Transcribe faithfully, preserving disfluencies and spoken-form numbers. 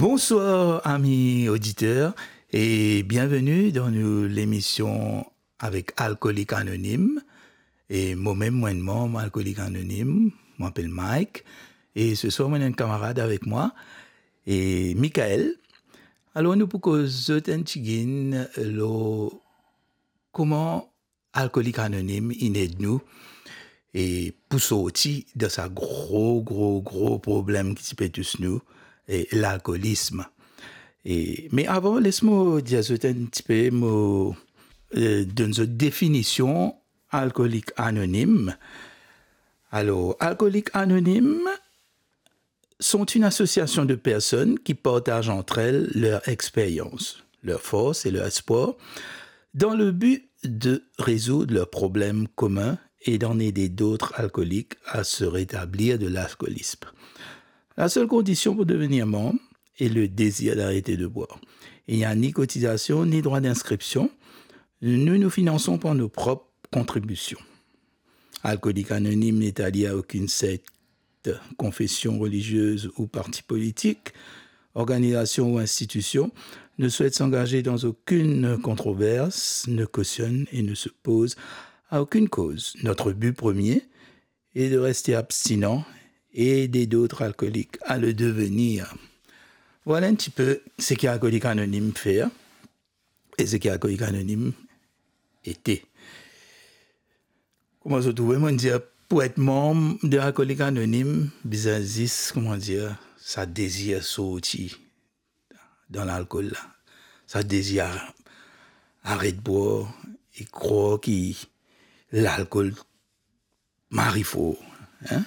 Bonsoir, ami oditer, e bienveni dan nou lemision avek Alkolik Anonim. E momem, mo enn manm Alkolik Anonim, mo apel Mike. E seswar, mo ena enn kamarad avek mwa, e Michael. Alor, nou pou koz zot enn tigit lor kouma Alkolik Anonim inn ed nou, e pou sorti dan sa gro, gro, gro problem ki ti pe tous nou, e lalkolism. E, me avan, les mo dir zot enn tipe, mo, e, donn zot definision Alkolik Anonim. Alor, Alkolik Anonim sont une association de personnes qui partagent entre elles leur expérience, leur force et leur espoir dans le but de résoudre leurs problèmes communs et d'en aider d'autres alcooliques à se rétablir de l'alcoolisme. La seule condition pour devenir membre est le désir d'arrêter de boire. Il n'y a ni cotisation, ni droit d'inscription. Nous nous finançons par nos propres contributions. Alcoolique Anonyme n'est allié à aucune secte, confession religieuse ou parti politique, organisation ou institution, ne souhaite s'engager dans aucune controverse, ne cautionne et ne s'oppose à aucune cause. Notre but premier est de rester abstinent et aider d'autres alcooliques à le devenir. Voilà un petit peu ce qu'Alcoolique Anonyme fait et ce qu'Alcoolique Anonyme était. Kouma zot trouve, mo dir, pou et manm de Alcoolique Anonyme, bizin zis, kouma dir, sa dezir sorti dan lalkol la. Sa dezir aret bwar e krwar ki lalkol mari for, hein?